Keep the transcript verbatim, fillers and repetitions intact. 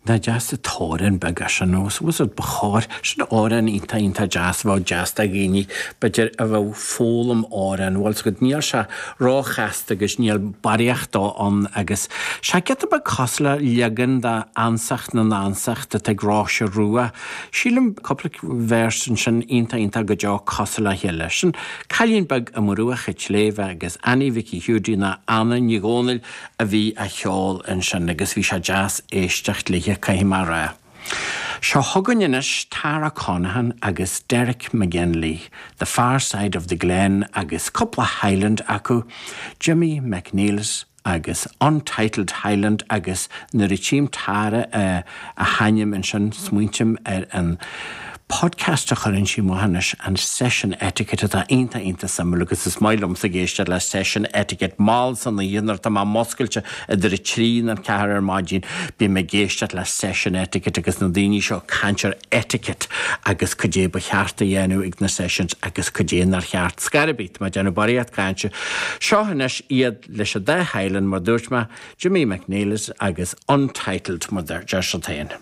Nach deas an t-amhrán beag é sin nó was it ba chóir sin amhrán iontach iontach deas a bheadh deas do dhaoine b'fhéidir a bheadh ag foghlaim amhrán bhfuil 's agat níl sé róchasta agus níl barraíocht dó ann agus sé giota beag cosúil le leagan de Ansacht na nAnsach atá ag Róise Rua. Sílim cúpla verse ansin iontach iontach go deo cosúil le chéile. Sin Cailín Beag i mBruach an tSléibhe agus Annie Mhicí Hiúdaí nó Anna Ní Dhomhnaill a bhí á cheol ansin agus bhí sé deas éisteacht léithe caithfidh mé a rá. Seo chugainn anois Tara Connaghan agus Derek McGinley, The Far Side of the Glen agus cúpla Highland acu, Jimmy McNeilis agus Untitled Highland agus nuair a tchím Tara a hainm ansin smaointím ar an podcast a chuireann sí amach anois an Session Etiquette atá iontach iontach suimiúil agus is maith liomsa ag éisteacht le Session Etiquette mall san oíche nuair atá mé muscailte idir a trí nó a ceathair ar maidin bím ag éisteacht le Session Etiquette agus na daoine seo ag caint ar etiquette agus cad é ba cheart a dhéanamh ag na sessions agus cad é nár cheart. Scor ar bith, tá mé ag déanamh barraíocht cainte. Seo anois iad leis an dá Highland mar dúirt mé, Jimmy McNeilis agus Untitled mar deir siad féin.